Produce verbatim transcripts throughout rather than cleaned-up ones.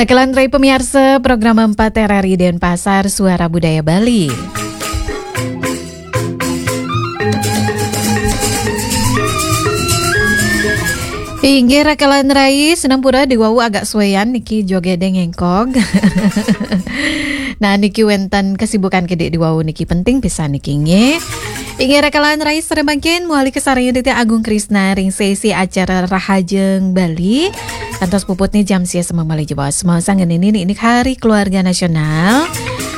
Rekan rai pemiarsa program empat R R I Denpasar, Suara Budaya Bali. Inggih, rekan rai, sinampura di wau agak sueyan niki joget dengengkog. Nah, niki wenten kesibukan kedi di wau niki penting pisan niki nggih. Inggih, rekan rai, sareng mangkin mawali kasarengin Titi Agung Krisna ring sesi acara Rahajeng Bali. Kantos puputne jam sia semeng malih jebos. Mau sanggenini niki Hari Keluarga Nasional.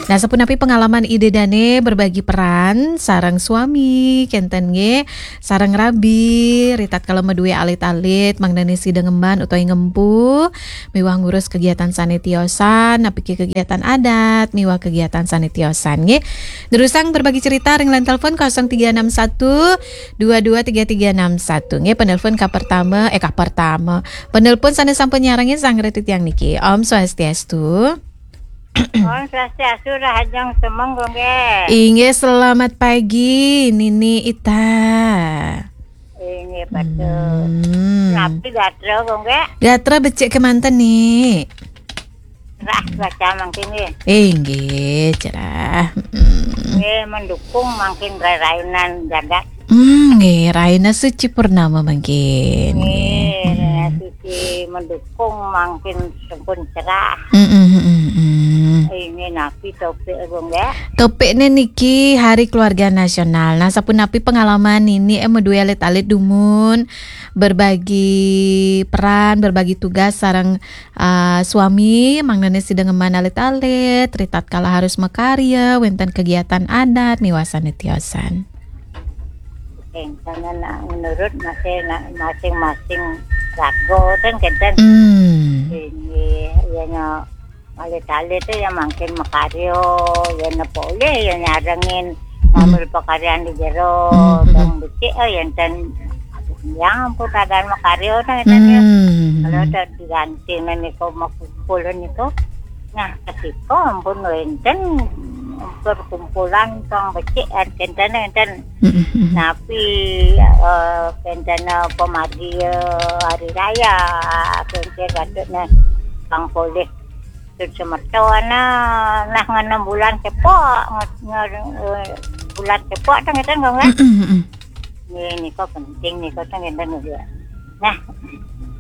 Nah, sapunapi pengalaman Ida dane berbagi peran sareng suami, kenten nggih, sareng rabi, ritatkala madue alit-alit, mangdane sida ngemban utawi ngempu, miwah ngurus kegiatan sane tiosan, napiki kegiatan adat, miwah kegiatan sane tiosan nggih. Durusang berbagi cerita ring line telepon kosong tiga enam satu dua dua tiga tiga enam satu. Nggih, penelpon ka pertama, eh, ka pertama. Penelpon sane sampun nyarengin sanggra titiang niki. Om Swastiastu. Om Swastiastu, Rahajeng semeng, Gung, nggih. Inggih, selamat pagi, Nini Ita. Inggih, patut. Hmm. Napi gatra, Gung, nggih? Gatra becik kemanten, Ni. Cerah cuaca mangkin nggih. Inggih, cerah. Mm. Nggih, mendukung mangkin rai-rainan jagat. Hmm, nggih, raina suci purnama mangkin. Nggih, raina suci mendukung mangkin sampun cerah. Mm, mm, mm, mm. Inggih, napi topik, Gung, nggih? Topikne niki Hari Keluarga Nasional. Nah, sapunapi pengalaman nini, eh, madue alit-alit dumun berbagi peran, berbagi tugas sareng ah, suami, mangdane sida ngemban alit-alit, ritatkala harus makarya, wenten kegiatan adat, miwah sane tiosan. Kenten, nah, menurut masing-, masing-masing raga ten kenten. Hmm. Ini, ya, nya, alit-alit te ya mangkin makarya, ya, napa olih, ya, nyarengin, hmm, ngambil pakaryan di jero, hmm, hmm, bang becik, eh, ya, ten, yang pun kadang makarya, ten, kenten, ya. Hmm. Kalau ada diganti menika makumpul niku. Nah, ketika ampun wenten perkumpulan pang becik, eh, kenten, kenten. Mm-mm. Napi, eh, kenten, eh, pamargi, eh, hari raya, kenten patutne pang polih. Tut semeton, nah, nah, ngena bulan cepok, nge-, nge-, eh, bulan cepok, ten, kenten, Gung, kan? Mm-mm, mm-mm. Nggih, nika penting nika ten, kenten, nggih. Nah,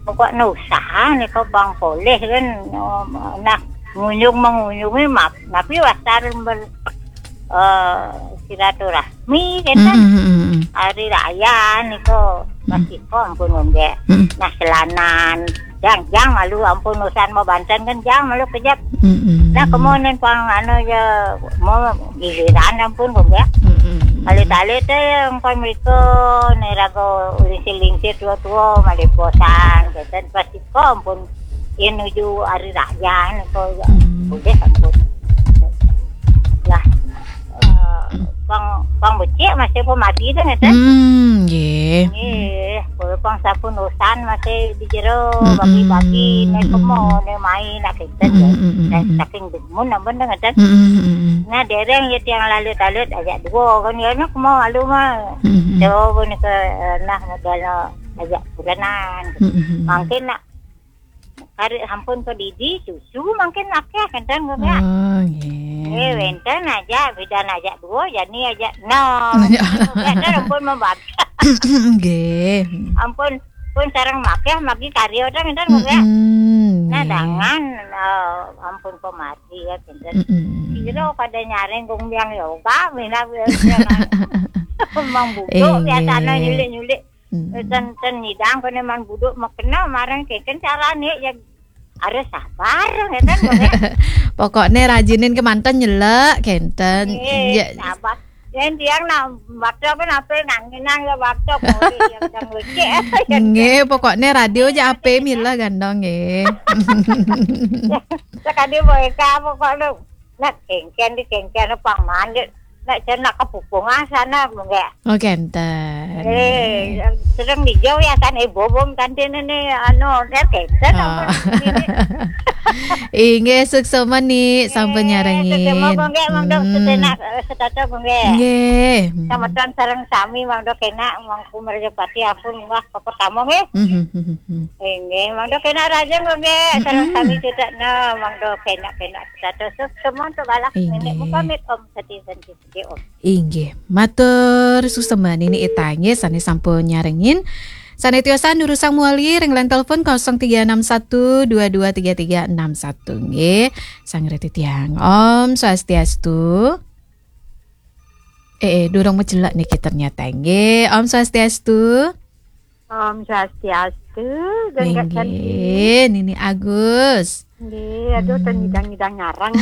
pokokne usaha nika pang polih kan, nah, ngunjung mengunjungi map-, napi wasar ber-, eh, silaturahmi kenten. Mm, mm, mm, mm. Hari raya nika, mm, masih kok ampun, nggih. Mm. Nah, selanan, jang, jang malu ampun usan mau banten kan, jang malu kejap. Mm, mm. Nah, kemudian pang anu ya, mau giliran ampun, nggih. Mm, mm, mm. Alit-alit te yang kon mereka neraga lingsir-lingsir tua-tua, malih bosan, kenten, pasti kok ampun. Yen nuju hari raya niko, ya, hmm, boleh ampun. Lah, eh, pang, pang becik masih pun mati tu, ngeten. Hmm, nggih. Nggih, kalau pang sampun usan masih di jero, hmm, bagi-bagi, hmm, naik, hmm, kemo, naik main, nak kenten, hmm, ya. Hmm, hmm, hmm, hmm. Saking demen ampun tu, ngeten. Hmm, hmm, hmm, hmm. Nah, dereng ya tiang lalut-lalut, ajak dua kan, ya, nak kemo malu mah. Hmm, hmm, hmm. Coba ni ke, eh, nah, modal ajak kurenan. Hmm, hmm, hmm. Mungkin nak Kari sampun padidi, susu mangkin akeh, kenten, Gung, ya. Oh, nggih. Eh, wenten aja, bidan aja dua, jani aja enam. Ya. Kenten, ampun membagi. Nggih. Ampun, pun sareng makeh, magi karya, kenten, Gung, ya. Mm-mm, nah, nggih. Dangan, eh, ampun pemati, ya, kenten. Mm-mm. Kira pada nyaring, Gung, biang yoga, minab, ya, ya, Mang Buduk, eh, biasanya nggih. Nyulik-nyulik. Hmm. Eh, ten, ten nyidang kene Mang Buduk makena marang keken carane ya harus sabar, ngeten, Gung, ya. Pokokne rajinin kemanten nyelek, kenten. Nggih, ya. Sabar. Yen tiang nak baca pun ape nganginang ya baca boleh yang sang lecek. Nggih, pokokne radio aja ape mila gandong, nggih. Sekali mereka pokoknya nak kengken di kengken pang mandit. Nek jan nak kepupung asana, nggih. Oh, kenten. Eh, sering dijauh ya kan, eh, bobong kantin ini, anu, nek kenten, oh, apa ini? Inggih, suksma Ni, sampun nyarengin. Suksma, nggih, mangda Hmm. setenak, eh, setata, nggih. Nggih. Hmm. Sameton sareng sami mangda kenak, Mangku Merjapati ampun munggah ka pertama, nggih. Hmm, hmm, hmm, hmm. Inggih, mangda kenak raja, nggih, sareng Hmm. sami sedekna, mangda kenak-kenak setata. Suksma untuk galah Inggih. Nenek muka mit Om Sati Santi Siti Om. Inggih, matur suksma Nini Ita nggih sane sampun nyarengin. Sane tiosan durusang muali ring line telepon kosong tiga enam satu dua dua tiga tiga enam satu nggih. Sang reti tiang. Om Swastiastu. Eh, eh, durung macelek niki ternyata nggih. Om Swastiastu. Om Swastiastu, Gengget Santi. Nggih, Nini Agus. Nggih, aduh, Hmm. ten ngidang-ngidang ngarang.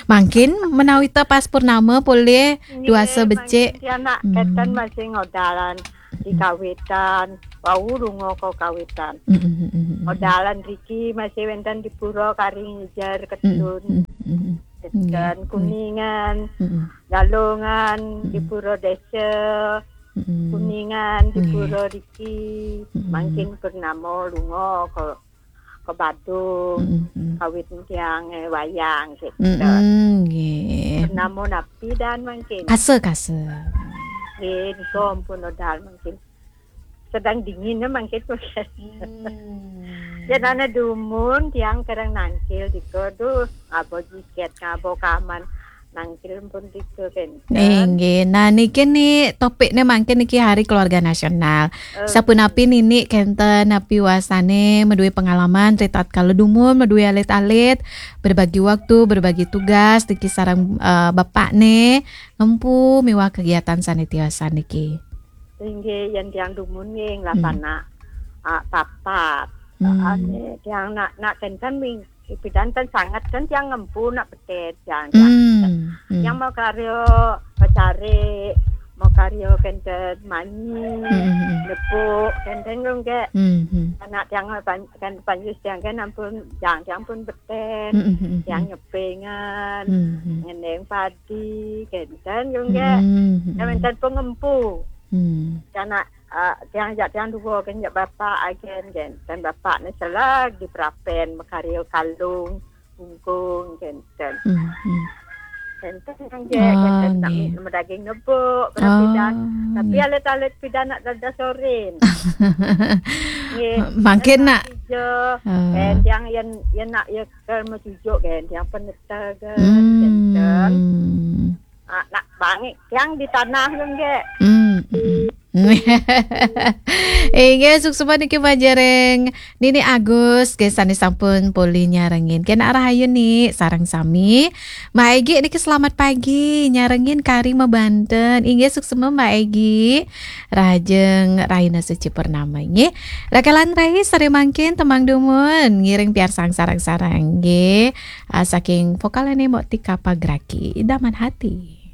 Mangkin menawi ta pas purnama polih Nggih, duasa becik. Mangkin tiang nak Hmm. keten masih ngodalan di Hmm. kawitan. Wau lunga ka kawitan. Hmm, hmm, hmm, hmm, hmm. Ngodalan riki masih wenten di pura kari ngijar Hmm, ketun. Hmm, hmm, hmm. Keten Nggih. Kuningan, Hmm. Galungan, di Hmm. pura desa. Hmm. Kuningan, di Nggih. Pura riki. Hmm. Mangkin purnama lunga ka, ka Badung. Hmm, hmm. Kawit tiang, eh, wayang gitu. Hmm, nggih. Purnama napi dan mangkin? Kasa, kasa. Nggih, nika ampun udan mangkin. Sedang dingin ya mangkin. Hmm. Yen ana dumun tiang kereng nangkil dika, duh, ngaba jiket, ngaba kaman, nangkil pun dika kenten. Inggih. Nah, niki ni topikne mangkin niki Hari Keluarga Nasional. Eh. Sapunapi Nini kenten napi wasane madue pengalaman ritatkala dumun madue alit-alit, berbagi waktu, berbagi tugas niki sareng, eh, bapakne, ngempu miwah kegiatan sane tiosan niki. Inggih, yen tiang dumun nggih, Hmm. lapanak, ah, papat. Hmm. Ane tiang nak, nak kenten ming, pidan ten sanget ten tiang ngempu nak betet tiang, tiang. Hmm. Hmm. Tiang mau karya pacari, mau karya kenten manyi, Hmm, hmm, hmm. Nepuk, kenten nggih. Hmm, hmm. Anak tiang pan-, kan panjus tiang kan ampun, tiang, tiang pun betet, Hmm, hmm, hmm, tiang hmm. Nyepengan, Hmm, hmm. Ngendeng padi, kenten nggih. Hmm, hmm. Tiang wenten pengempu. Hmm. Tiang nak, ah, tiang jak tiang dua kan jak bapak agen kan. Dan bapak ni selag di Prapen, makarya kalung, bungkung, kenten. Hmm, hmm. Kenten kan je, Oh, kenten nak nggih. Mi-, medaging nebuk, berapa Oh, pidan. Tapi nggih. Alit-alit pidan nak dadah sorin. Nggih. Mangkin nak. Tiga, Oh. Eh, tiang yen, yen nak ya ke metujuk kan, tiang peneta kan, Hmm. Kenten. Ah, nak bangik tiang di tanah kan, nggih. Hmm, hmm. Inggih, suksma niki majeng ring Nini Agus, nggih sane sampun polih nyarengin. Kenak rahayu Ni, sareng sami. Mbak Egi niki selamat pagi, nyarengin kari mabanten. Inggih, suksma Mbak Egi. Rahajeng rahina suci purnama nggih. Rakelan rai sare mangkin tembang dumun ngiring piarsang sareng-sareng nggih. Ah, saking vokalane Mbok Tika Pagraki, Idaman Hati.